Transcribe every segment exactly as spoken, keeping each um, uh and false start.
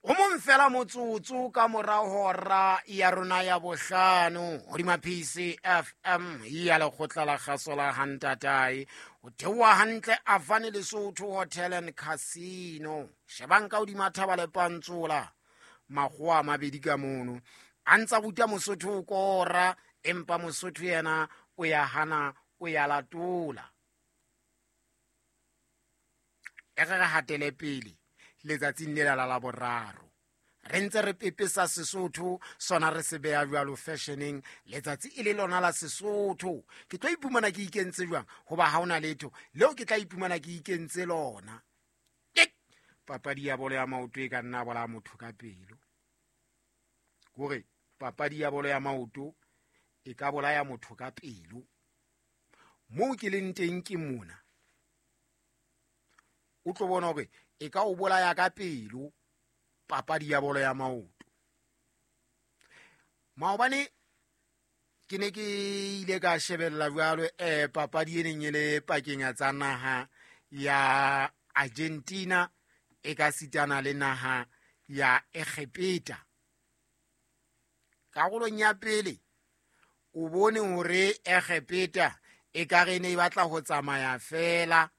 O mong fela motsotso ka mora hora ya rona ya bohlano hodima P C F M ya lekgotla la kgaso la Hantatae. O theoha hantle Avane Lesotho Hotel and Casino. Shebang ka hodima thaba le pantsola makgowa a mabedi ka mono. A ntsa ruta Mosotho ho kora, empa Mosotho yena o ya hana, o ya latola. E re re hatele pele letsatsing lela la Laboraro. Re ntse re pepesa Sesotho, sona re se beha jwalo fashioneng, letsatsi e le lona la Sesotho. Ke tlo iphumana ke ikentse jwang? Hoba ha hona letho leo ke tla iphumana ke ikentse lona. Ke papadi ya bolo ya maoto e ka nna bolaya motho ka pelo. Hore papadi ya bolo ya maoto e ka bolaya motho ka pelo. Moo ke leng teng ke mona. O tlo bona hore e ka o bolaya ka pelo papadi ya bolo ya maoto. Maobane ke ne ke ile ka shebella jwalo eh papadi e neng e le pakeng ya tsa naha ya Argentina e ka sitana le naha ya Egepeta. Karolong ya pele o bone hore Egepeta e ka re ne e batla ho tsamaya fela,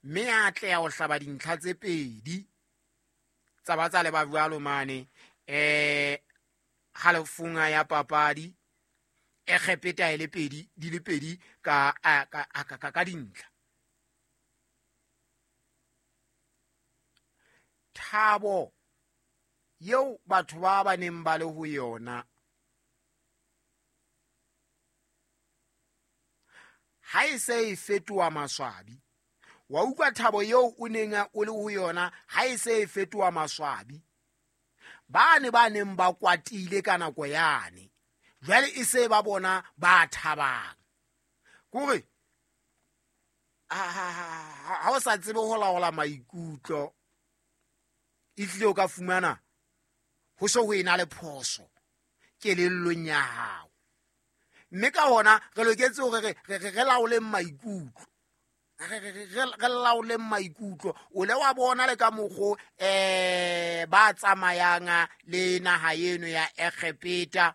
mme a atleha ho hlaba dintlha tse pedi tsa ba tsa leba jwalo mane eh halofong ya papadi. Egepeta e le pedi di le pedi ka ka ka ka dintlha. Thabo eo batho ba ba neng ba le ho yona ha e se e fetoha maswabi. Wa utlwa thabo eo o neng o le ho yona ha e se e fetoha maswabi. Ba ne ba neng ba kwatile ka nako yane, jwale e se ba bona ba thabang. Kore ha o sa tsebe ho laola maikutlo, ehlile o ka fumana ho so ho ena le phoso kelellong ya hao. Mme ka hona re loketse hore re re laoleng maikutlo. Re laoleng maikutlo. O le wa bona le ka mokgo eh ba tsamayang le naha eno ya Egepeta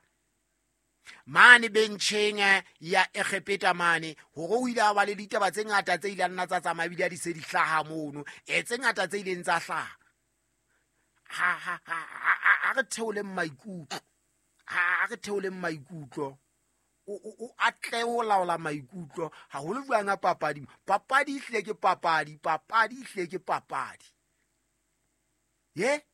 mane bencheng ya Egepeta mane, hore o ile a ba le ditaba tse ngata tse ileng nna tsa tsamaya ebile di se di hlaha mono, e tse ngata tse ileng tsa hlaha. Ha ha ha re theoleng maikutlo, ha re theoleng maikutlo. O atle ho laola maikutlo haholo jwang a papadi. Papadi ehlile ke papadi, papadi ehlile ke papadi. Ye?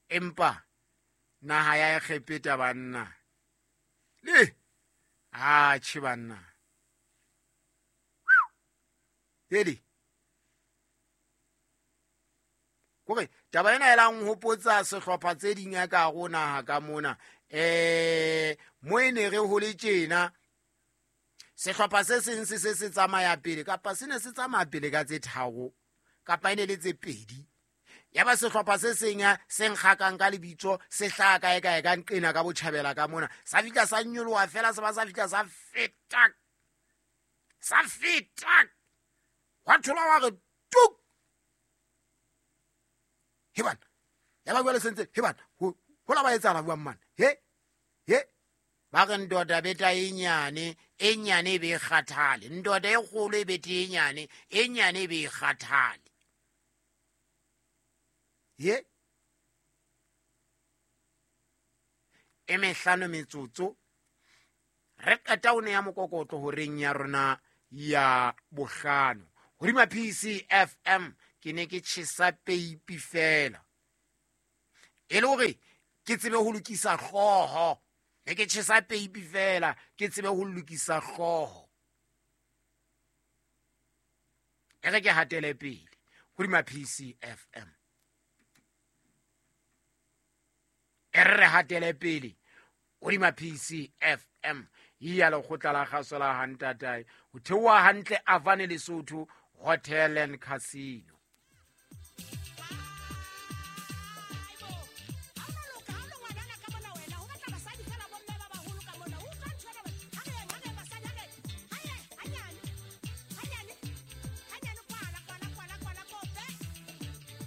Empa naha ya Egepeta banna. Le atjhe banna. Hedi. Kore taba ena e lang hopotsa sehlopha tse ding ya ka hare naha ka mona. Eh mo e ne re hole tjena sehlopha se seng se se se tsamaya pele kapa se ne se tsamaya pele ka tse tharo kapa e ne le tse pedi. Ya ba sehlopha se seng se nkgakang ka lebitso se hlaha kae kae ka nqena ka botjhabela ka mona. Sa fihla sa nyoloha fela se ba sa fihla sa feta. Sa feta. Wa thola wa re tuk. Heban, ya ba bua le sentse, heban, ho ho la ba etsahala buang man. He? He? Ba re ndoda beta e nyane, e nyane e be kgathale. Ndoda e kgolo e bete e nyane, e nyane e be kgathale. He? E mehlano metsotso re qeta o ne ya mokokotlo horeng ya rona ya bohlano. Hodima P C F M ke ne ke tjhesa peipi fela. E le hore ke tsebe ho lokisa hlooho. Ne ke tjhesa peipi fela, ke tsebe ho lokisa hlooho. E re ke hatele pele hodima P C F M. E re re hatele pele hodima P C F M. Ya lekgotla la kgaso la Hantatae. Ho theoha hantle Avane Lesotho Hotel and Casino.